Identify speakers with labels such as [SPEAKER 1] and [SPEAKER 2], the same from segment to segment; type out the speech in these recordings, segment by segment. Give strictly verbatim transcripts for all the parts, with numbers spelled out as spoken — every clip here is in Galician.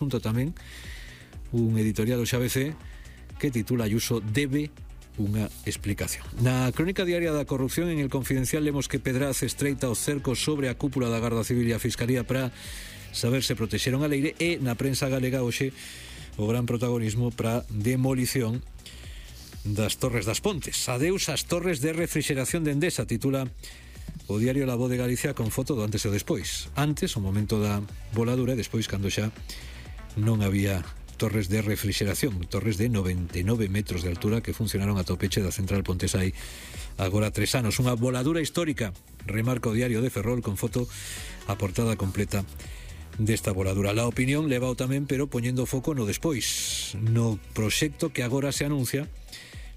[SPEAKER 1] junto tamén un editorial do X A B C que titula Ayuso debe unha explicación. Na crónica diaria da corrupción, en El Confidencial, lemos que Pedraz estreita os cercos sobre a cúpula da Garda Civil e a Fiscalía para saber se protexeron a leire, e na prensa galega hoxe o gran protagonismo para demolición das Torres das Pontes. Adeus ás torres de refrixeración de Endesa, titula o diario La Voz de Galicia con foto do antes e o despois. Antes, o momento da voladura, e despois cando xa non había torres de refrixeración, torres de noventa e nove metros de altura que funcionaron ata o peche da central Pontesai agora tres anos. Unha voladura histórica, remarca o diario de Ferrol con foto a portada completa desta voladura. La Opinión levao tamén, pero poñendo foco no despois, no proxecto que agora se anuncia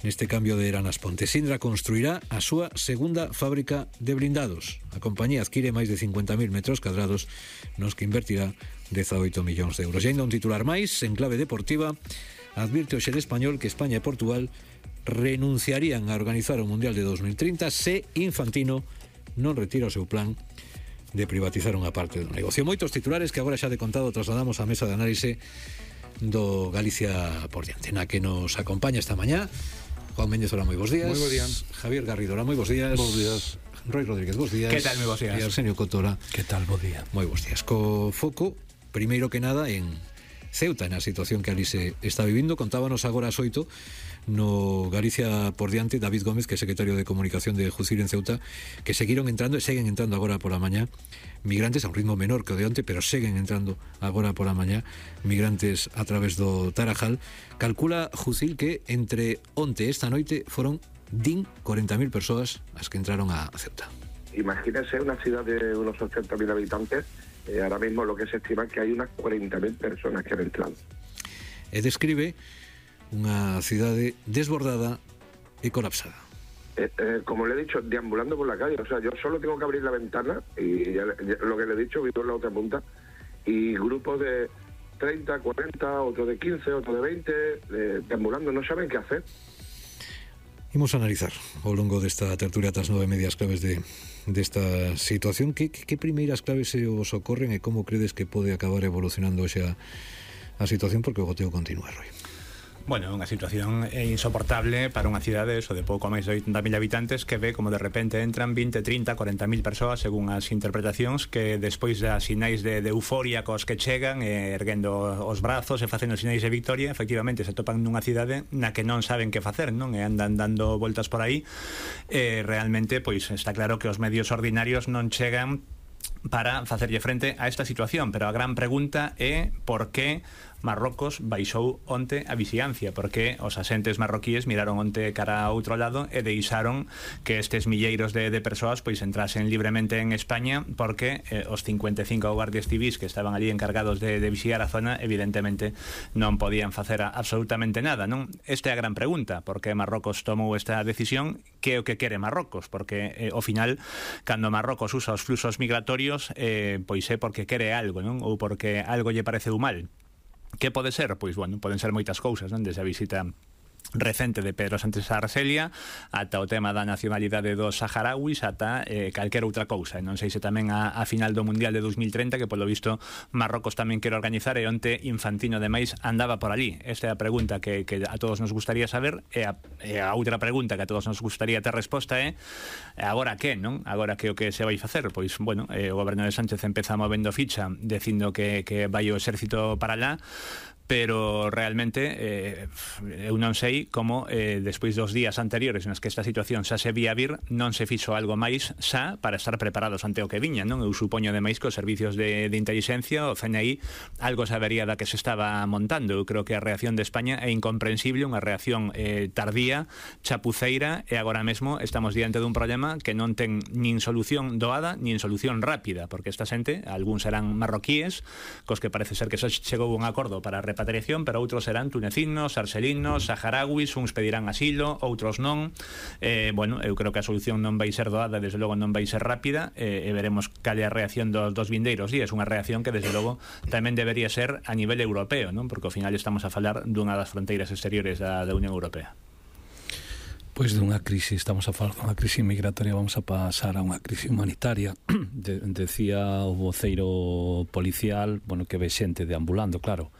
[SPEAKER 1] neste cambio de era nas Pontes. Indra construirá a súa segunda fábrica de blindados. A compañía adquire máis de cincuenta mil metros cadrados nos que invertirá dezaoito millóns de euros. E ainda un titular máis, en clave deportiva, advirte o Xel Español que España e Portugal renunciarían a organizar o Mundial de dos mil trinta se Infantino non retira o seu plan de privatizar unha parte do negocio. Moitos titulares que agora xa de contado trasladamos á mesa de análise do Galicia por diante, na que nos acompaña esta mañá Juan Méndez, hola, moi bons días.
[SPEAKER 2] Moi bo días.
[SPEAKER 1] Javier Garrido, hola, moi bons días.
[SPEAKER 2] Bos días.
[SPEAKER 1] Roy Rodríguez, bos días.
[SPEAKER 3] Que tal, moi bos días.
[SPEAKER 1] E Arsenio Cotora.
[SPEAKER 2] Que tal, bo día.
[SPEAKER 1] Moi bons días. Co foco, primeiro que nada, en Ceuta, na situación que ali se está vivindo. Contábanos agora as oito no Galicia por diante David Gómez, que é secretario de Comunicación de Jucir en Ceuta, que seguiron entrando e seguen entrando agora pola mañá migrantes a un ritmo menor que o de onte, pero seguen entrando agora pola mañá migrantes a través do Tarajal. Calcula Jucil que entre onte e esta noite foron din cuarenta mil persoas as que entraron a Ceuta.
[SPEAKER 4] Imagínense una ciudad de unos ochenta mil habitantes, eh, ahora mismo lo que se estima es que hay unas cuarenta mil personas que han entrado.
[SPEAKER 1] E describe unha cidade desbordada e colapsada.
[SPEAKER 4] Eh, eh, como le he dicho, deambulando por la calle, o sea, yo solo tengo que abrir la ventana y ya, ya, lo que le he dicho, vivo en la otra punta, y grupos de treinta, cuarenta, otro de quince, otro de veinte, eh, deambulando, no saben qué hacer.
[SPEAKER 1] Imos a analizar ao longo desta tertulia das nove medias claves de desta situación. Que, que, que primeiras claves se os ocorren e como credes que pode acabar evolucionando xa a situación, porque o goteo continúa, Roy?
[SPEAKER 3] Bueno, unha situación insoportable para unha cidade eso de pouco máis de oitenta mil habitantes que ve como de repente entran vinte, trinta, cuarenta mil persoas según as interpretacións, que despois das sinais de, de euforia cos que chegan e erguendo os brazos e facendo sinais de victoria, efectivamente se topan nunha cidade na que non saben que facer, non? E andan dando voltas por aí e realmente pois está claro que os medios ordinarios non chegan para facerlle frente a esta situación, pero a gran pregunta é por que Marrocos baixou onte a vixiancia, porque os asentes marroquíes miraron onte cara a outro lado e deixaron que estes milleiros de, de persoas pois entrasen libremente en España, porque eh, os cincuenta e cinco guardias civis que estaban ali encargados de, de vixiar a zona evidentemente non podían facer absolutamente nada, non? Esta é a gran pregunta, por que Marrocos tomou esta decisión, que é o que quere Marrocos, porque eh, ao final cando Marrocos usa os fluxos migratorios eh, pois é porque quere algo, non? Ou porque algo lle pareceu mal. Que pode ser? Pois, bueno, poden ser moitas cousas, non? Desde a visita recente de Pedro Sánchez a Argelia ata o tema da nacionalidade dos saharauis ata eh, calquera outra cousa. Non sei se tamén a, a final do Mundial de dos mil treinta, que polo visto Marrocos tamén quere organizar, e onte Infantino ademais andaba por ali. Esta é a pregunta que, que a todos nos gustaría saber, e a, e a outra pregunta que a todos nos gustaría ter resposta é agora que, non? Agora que o que se vai facer? Pois, bueno, eh, o goberno de Sánchez empeza movendo ficha dicindo que, que vai o exército para lá, pero realmente eh, eu non sei como eh, despois dos días anteriores nos que esta situación xa se vía vir, non se fixo algo máis xa para estar preparados ante o que viña, non? Eu supoño ademais que os servicios de, de inteligencia, o C N I, algo sabería da que se estaba montando. Eu creo que a reacción de España é incomprensible, unha reacción eh, tardía, chapuceira, e agora mesmo estamos diante dun problema que non ten nin solución doada nin solución rápida, porque esta xente, algúns serán marroquíes, cos que parece ser que xa chegou un acordo para repatriación, pero outros serán tunecinos, arxelinos, saharauis, uns pedirán asilo, outros non. Eh, bueno, eu creo que a solución non vai ser doada, desde logo non vai ser rápida, eh, e veremos cal é a reacción dos, dos vindeiros días. Unha reacción que desde logo tamén debería ser a nivel europeo, non? Porque ao final estamos a falar dunha das fronteiras exteriores da, da Unión Europea.
[SPEAKER 2] Pois dunha crise, estamos a falar dunha crise migratoria, vamos a pasar a unha crise humanitaria. De, decía o voceiro policial, bueno, que ve xente deambulando, claro,